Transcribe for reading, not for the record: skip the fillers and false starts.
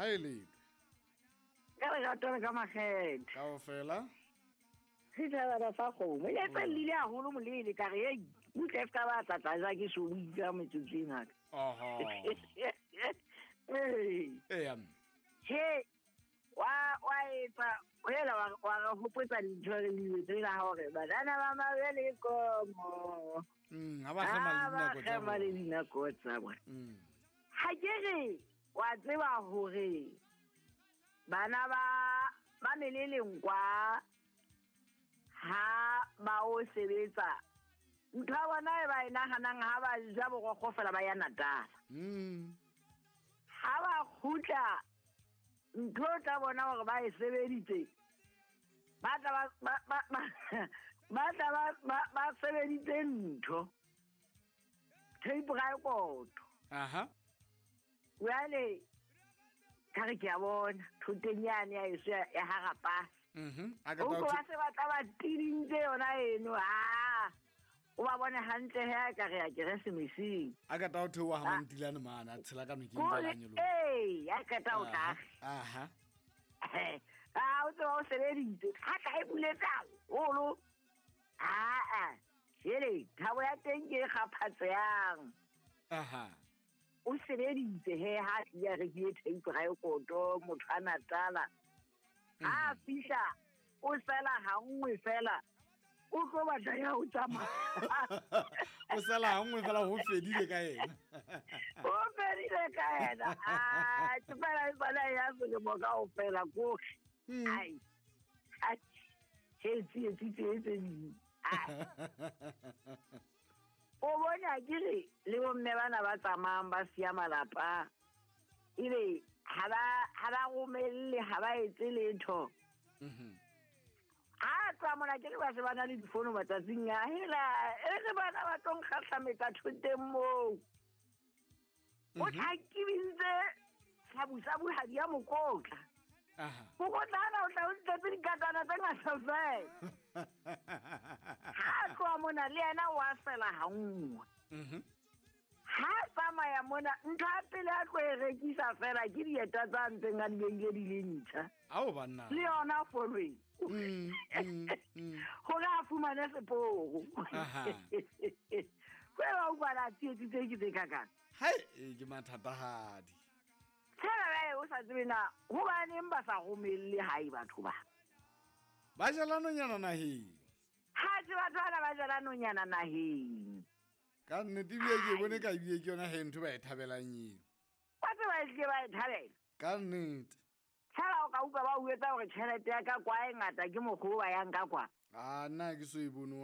Ha e lete. Ka lerato le ka makgethe. Kaofela. Setjhabana sa kgomo. E se llile haholo molele ka re ei, butle e ska ba tla tla ja ke so bua metsotso e ngata. Oho. Ee. Eya. Che wa etsa hela wa re hopotsa dintho re di tsela hore banana ba mabele komo. Ha ba kgema le Ha ba dinako tsa kgema le bona. dinako tsa bona. Ha ke re wa tseba hore bana ba meleleng kwa ha ba o sebetsa ntho ya bona e ba e nahanang ha ba ja borokgo fela ba ya Natal. Ha ba kgutla ntho tsa bona hore ba e sebeditse ba tla ba sebeditse ntho tape record. Aha. Jwale ka re ke a bona thoteng yane ya eso ya Harapasa. A ka O tla ba se ba tla ba tidintse yona eno. Ah, o ba bone hantle he ka re ya Keresemeseng. A ka tla o theoha ha Mantilane mane, a tshela ka nokeng Kore, jwale a nyoloha. ee, a qeta ho tla. Aha. Ah, o tseba o sebeditse. Ha tla e buletse haholo. Ah, jele, thabo ya teng ke e kgaphatsehang. Aha. O sebeditse he ha a rekile tape record motho a Natala. Ha a fihla o sela ha nngwe fela o tlo batla ya ho tsamaya. O sela ha nngwe fela ho fedile ka yena. Ho fedile ka yena. Ah, ke fela e bana ya selemo kaofela ko. Ai. Ai. Tse tse tse tse tse. Ai. O bona ke re le bomme bana ba tsamayang ba siya malapa ebe ha ba romelle, ha ba etse letho. Ha tsa mona ke re ba se ba na le difono matsatsing a hela e re bana ba tlo nkgahlametsa thoteng moo. O tlhakibintse sabusabu ha di ya mokotla. Aha. Mokotla ana o tla o tletse dikatana tse ngata fela. Ha tloha mona le yena o a fela ha nngwe. Ha tsamaya mona ntho ya pele a tlo e rekisa fela ke dieta tsa ntseng a di beile di le ntjha. Ao banna. Le yona following. Hore a fumane seporo. Aha. Kwe ba utlwa la tsietsi tse ke tse kakang. Hai, e ke mathatahadi. Tshela ba e o sa tsebe na hobaneng ba sa romelle hae batho ba. Ba jela nonyana naheng. Ha se batho bana ba jela nonyana naheng. Ka nnete ebile ke bone ka ebile ke yona he ntho ba e thabelang eo. Ba tseba e hlile ba e thabela. Ka nnete. Tshela o ka utlwa ba o etsa hore tjhelete ya ka kwa e ngata ke mokgwa o ba yang ka kwa. Ah, nna ke so e bone.